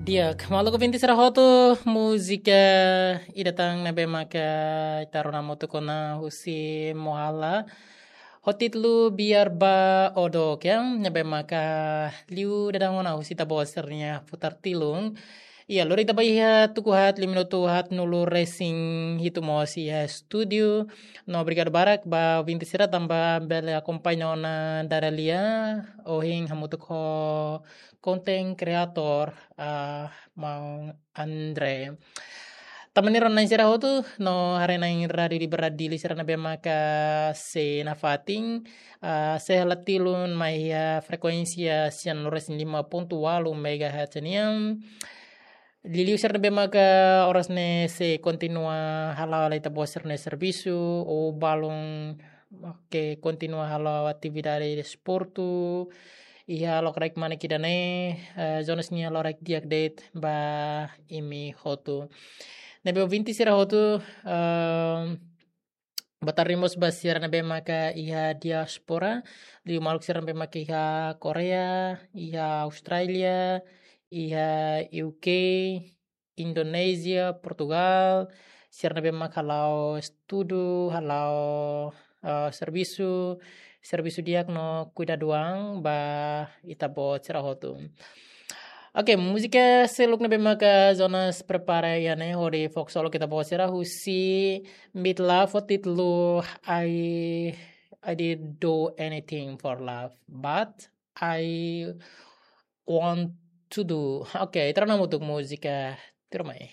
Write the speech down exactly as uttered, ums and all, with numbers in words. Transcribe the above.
Di'ak, maluk ouvinte sira hotu, múzika ida tan ne'ebé maka ita rona hamutuk ona husi Mohala ho títulu Biar Ba Odo, ke ne'ebé maka liu daudaun ona husi ita-boot sira-nia futar tilun. Iha lori ita ba iha tuku haat, lima minutu haatnulu resin hitu mós iha estúdiu. No obrigadu barak ba ouvinte sira tanba bele akompaña ona dada lia ohin hamutuk ho content creator, ah, maun André. Tanba ne'e rona na'in sira hotu, no haree na'in Rádiu Liberdade Dili sira ne'ebé maka sei nafatin, ah, sei hela tilun mai iha frekuénsia sianulu resin lima pontu ualu megahertz nian. Liuliu sira ne'ebé maka oras ne'e sei kontinua hala'o hela ita-boot sira-nia servisu, ou balun ke kontinua hala'o atividade desportu iha lokraik manik ida-ne'e, eh, Jonas nia lokraik di'ak de'it ba imi hotu. Ne'ebé ouvinte sira hotu, ehm, boa tarde mós ba sira ne'ebé maka iha diáspora, liu maluk sira ne'ebé maka iha Koreia, iha Austrália, iha U K, Indonézia, Portugal, sira ne'ebé maka hala'o estudu, hala'o, eh, servisu, servisu di'ak no kuidadu an ba ita-boot sira hotu. Oke, múzika seluk ne'ebé maka Jonas prepara iha ne'e hodi fó ksolok ita-boot sira husi Midlove ho títulu I, I didn't do anything for love, but I want to do. Oke, ita rona hamutuk múzika, tuirmai.